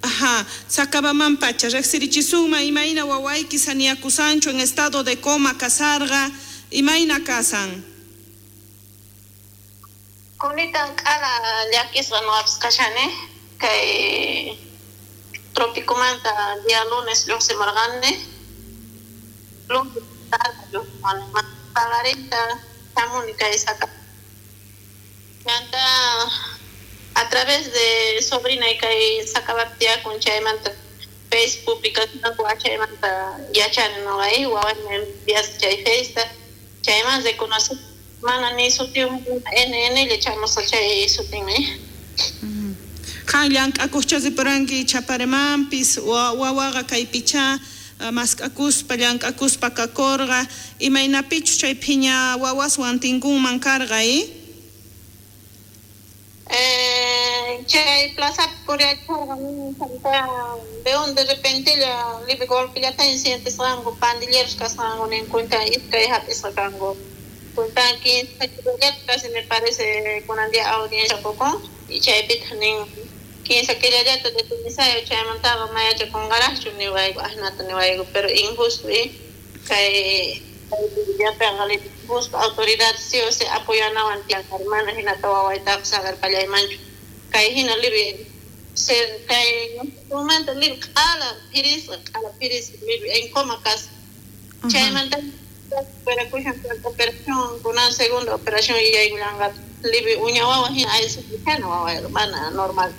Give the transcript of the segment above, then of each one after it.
Ajá, Sacabamanpacha, rejsirichisunman imayna wawayki saniyakusanchu en estado de coma kasarqa, imayna kasan? Kunitan k'ala llakisqa noqapis kashani kay Tropicomanta día lunes lluqsimurqani, lunes tarde lluqsimurqani, paqarinta hamuni kay Saca. Chanta a través de sobrinay kay Sacabapi tiyakun chaymanta Face publicacionku chaymanta yachani noqa wawaymi enviasqa chay Faceta chayman reconocí mana ni sutiyuq NN lla chamusqa chay sutinmi. Qan llank'akuqcha ripuranki Chaparemampis, wawaqa kaypichá mask'akuspa llank'akuspa kakurqa, imaynapichus chay phiña wawaswan tinkunman karqa i? Chay plazapi puriachkarqa chanta veo de repentella libre golpellataña sientesqanku pandilleros kasqanku nin cuenta iskay hap'isqa kanku cuenta 15 killallata casi me parece kunan día audiencia qukun y chaypitaq nin 15 killallata detenisayo chaymantaqa mayachakunqaraqchu niwayku asnata niwayku pero injusto kay llapanqa injusto autoridad sí o sí apoyanawan tiyan mana hinata wawaytaqa saqerpallaymanchu kay hina libre kay manta libre q'ala phirisqa libre en coma kasqa chaymanta operakushan operación kunan segunda operación yaykullanqataq libre uña wawa hina aysakushana wawayqa mana normal.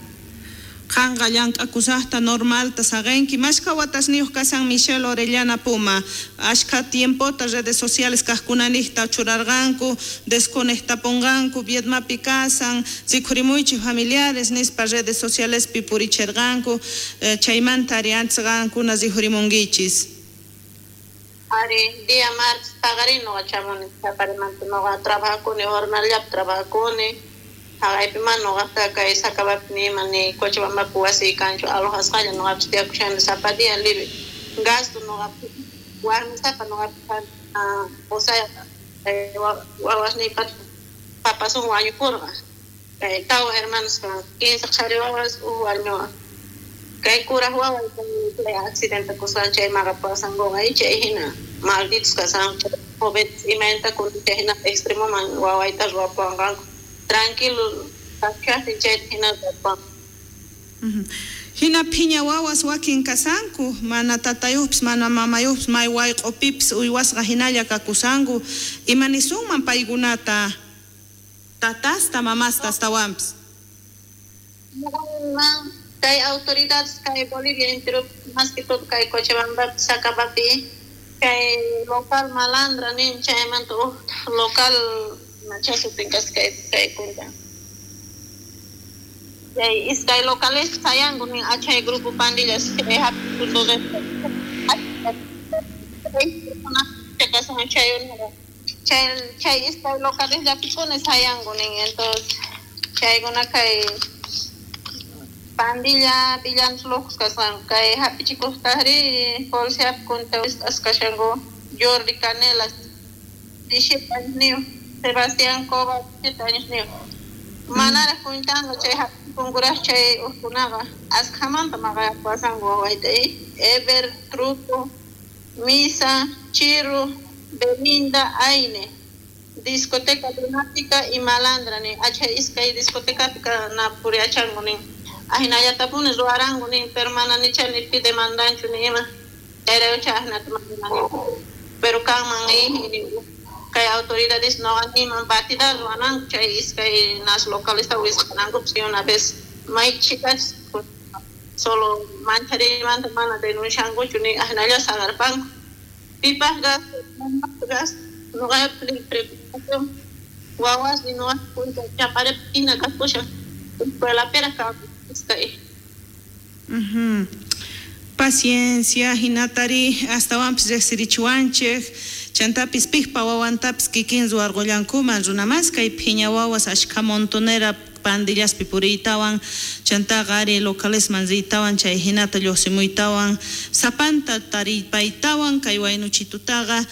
Qanqa llank'akusaqta normalta saqenki mashkha watasniyuq kasan Michelle Orellana Puma ashkha tiempota redes sociales kaqkunaniqta churarqanku desconectapunqanku Viedmapi kasan rikhurimuychik familiares nispa redes socialespi purichirqanku chaymanta ari antes qankuna rikhurimunkichis. Ari día martes paqarin noqa chamuni Chaparimanta noqa trabajakuni jornalllapi trabajakuni haqaypi mana noqaqta kay Sacabapi nima ni Cochabambapi wasiy kanchu alojasqalla noqapis tiyakushani sapa día libre gasto noqapi warmisapa noqapi qusayqa wawasniypata papasun wañupurqa kay tawa hermanos kanku 15 qhari wawas uj warmi wawa kay kuraq waway chay accidente kusqan chay maqapuwasankuqa chay hina malditos kasqanku jóvenes imaynata kunan chay hina extremoman wawayta ruwapuwanqanku tranquilo kashaqtin chayta hina ruwapuwanqanku. Hina phiña wawas wakin kasanku, mana tatayuqpis mana mamayuqpis may wayq'upipis uywasqa hinalla kakusanku, ima nisunman paykunata tatasta mamasta astawanpis? Kay autoridades kay Bolivia entero más que todo kay Cochabambapi Sacabapi kay local malandra nin chaymanta uj local machasutin kasqa kay kunta chay iskay locales sayanku nin achay grupo pandillas chay hap'iku chay chay iskay locales llapipuni sayanku nin entonces chaykuna kay pandilla villanos locos kasqanku kay hap'ichikuqtaqri policiapi kunta wisq'asqa kashanku Jordi Canelas 17 añosniyuq Sebastián Cova 7 añosniyuq manaraq kuntanqa chay hap'ichikunkuraq chay ujkunaqa askhamanta maqayapuwasanku wawayta Ever Truco Misa Chirru Belinda Aine discoteca Lunática y Malandra nin achay iskay discotecapi na puriachanku nin ahinallatapuni ruwaranku nin pero mana nicha ni pi demandanchu ni ima chayraykucha ahinata manani pero kanman kay autoridades no animan batida ruwananku chay iskay nas localesta wisq'anankupis una vez may chicas solo manchariymanta mana denunciankuchu ni ahinalla saqarpanku pipaq gasto gasto noqaypi preocupación wawasniy noqa kunta Chaparepi hina kakushan escuelapiraq kanku iskay. Paciencia hinatari astawanpis riqsirichiwanchik chantapis piqpa wawantapis kikin ruwarqullankuman runamas kay phiña wawas ashkha montonera pandillaspi puriytawan chantaqa ari localesman riytawan chay hinata lluqsimuytawan sapanta taripaytawan kay waynuchitutaqa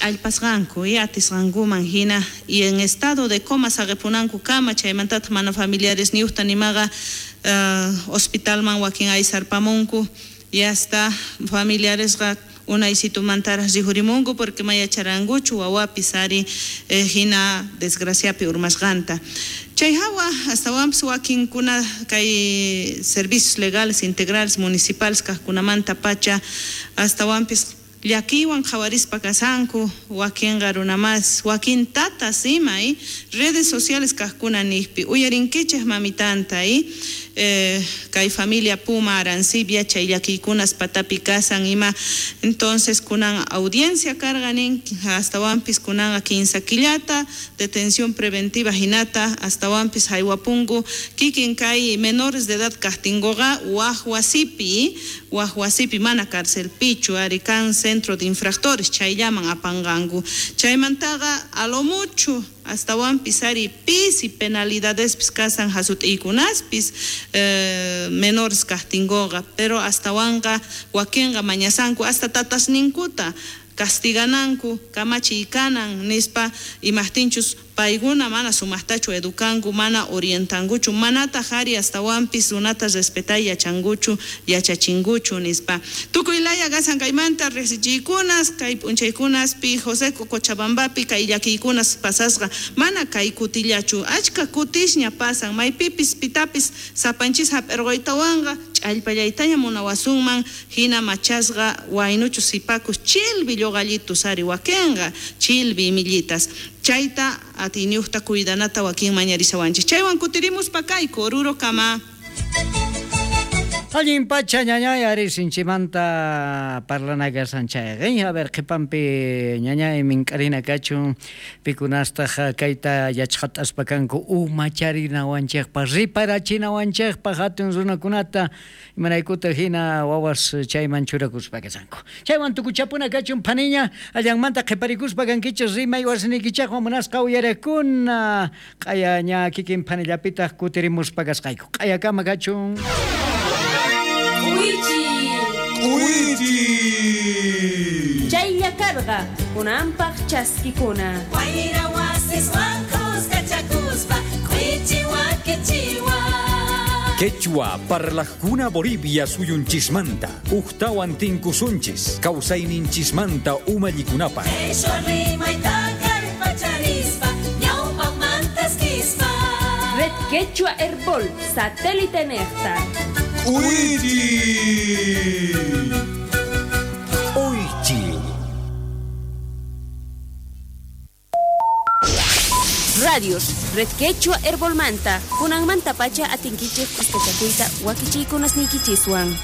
Ch'allpasqanku y atisqankuman hina y en estado de coma saqepunankukama, chaymantataq mana familiaresniyuqta nimaqa hospitalman wakin aysarpamunku y hasta familiaresqa unaysitumantaraq rikhurimunku porque ma yacharankuchu wawapis ari hina desgraciapi urmasqanta. Chay hawa astawanpis wakinkuna kay servicios legales integrales municipales kaqkunamanta pacha astawanpis llakiywan qhawarispa kashanku wakinqa runamas wakin tatas ima redes sociales kaqkuna niqpi uyarinkichej mamitanta kay familia Puma Arancibia chay llakiykunas patapi kasan ima entonces kunan audiencia karqa nin astawanpis kunanqa 15 killata detención preventiva hinata astawanpis haywapunku kikin kay menores de edad kaqtinkuqa waj wasipi mana carcelpichu ari kan centro de infractores chayllaman apanqanku chaymantaqa a lo mucho astawanpis ari pisi penalidadespis kasan hasut'iykunaspis menores kaqtinkuqa pero astawanqa wakinqa mañasanku hasta tatasninkuta castigananku kamachiy kanan nispa imaqtinchus paykuna mana sumaqtachu edukanku mana orientankuchu manataq ari astawanpis runata respetay yachankuchu yachachinkuchu nispa tukuy laya kasan kaymanta riqsichiykunas kay p'unchaykunaspi José Cochabambapi kay llakiykunas pasasqa mana kay kutillachu achka kutisña pasan maypipis pitapis sapanchis hap'irquytawanqa ch'allpallaytaña munawasunman hina machasqa waynuchu sipakus chilbi lluqallitus ari wakinqa chilbi imillitas chayta atiyniyuqta cuidanata wakin mañarisawanchis chaywan kutirimuspa kayku Oruro kama. Allin pacha ñañay ari sinchimanta parlana kasan chayqa a ver qhipanpi ñañay mink'arina kachun pikunastaq kayta yachqat'aspa kanku umacharinawanchikpaq riparachinawanchikpaq hatun runakunata imaraykuta hina wawas chayman churakuspa kasanku chaywan tukuchapuna kachun phaniña allanmanta qhiparikuspa kankichis rimay wasinikichaqwan munasqa uyarakuna q'aya ña kikin phanillapitaq kutirimuspa kasqayku q'ayakama kachun. Chaylla karqa kunanpaq chaskikuna. Wayra wasiswan kuskachakuspa k'uichi wakichiwa. Quechua parlajkuna Bolivia suyunchismanta uktawan tinkusunchis kawsayninchismanta umallikunapaq. Qhishwa rimayta kallpacharispa ñawpaqmantaskispa. Red Quechua Herbol satélite nejta. K'uichi. Oichi. Radios, Red Quechua Herbolmanta, kunanmanta pacha atinkichej kuskachakuyta wakichiykunasniykichiswan.